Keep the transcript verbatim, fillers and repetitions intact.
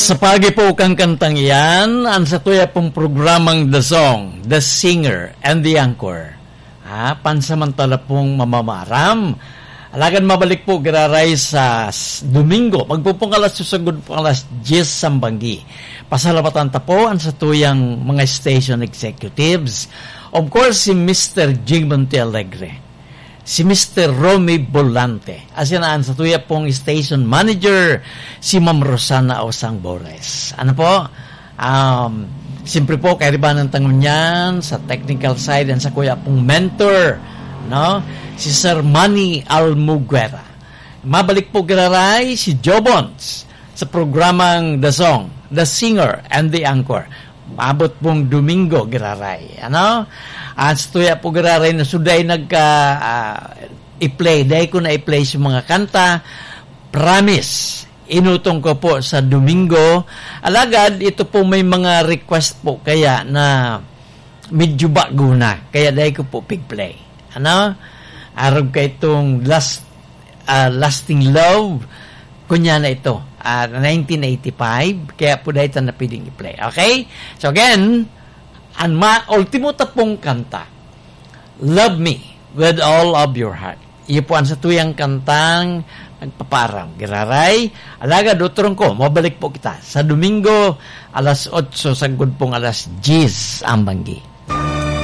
Sa pagi po kan kantang iyan, an satuya pong programang The Song, The Singer, and The Anchor. Ah, pansamantala pong mamamaram. Alagad mabalik po giraray sa s-, Domingo. Magpupong alas dos sagud po alas diyes sambanggi. Pasalamatan ta po an satuyang mga station executives. Of course, si Mister Jing Monte Alegre, si Mister Romy Volante, asin an satuya pong station manager, si Ma'am Rosana Osang Bores. Ano po? Um, siyempre po, kairibanan ta ngunyan sa technical side, an sakuya pong mentor, no? Si Sir Manny Almuguera. Mabalik po giraray si Joe Bons sa programang The Song, The Singer, and The Anchor. Maabot pong Domingo giraray. Ano? An satuya po giraray na suday nagka, ah, i-play. Dai ko na i-play sa mga kanta. Promise. Inutong ko po sa Domingo. Alagad, ito po may mga request po kaya na medyo bago na. Kaya dai ko po pig-play. Ano? Arog ka itong last, ah, Lasting Love. Kunya na ito. Ah, nineteen eighty-five. Kaya po dai ta na pwedeng i-play. Okay? So again, an ma-, ultimo ta pong kanta, Love Me With All of Your Heart. Iyo po an satuyang kantang nagpapaaram. Giraray, alagad, otrong ko, mabalik po kita sa Domingo, alas otso sagud pong alas diyes ang banggi.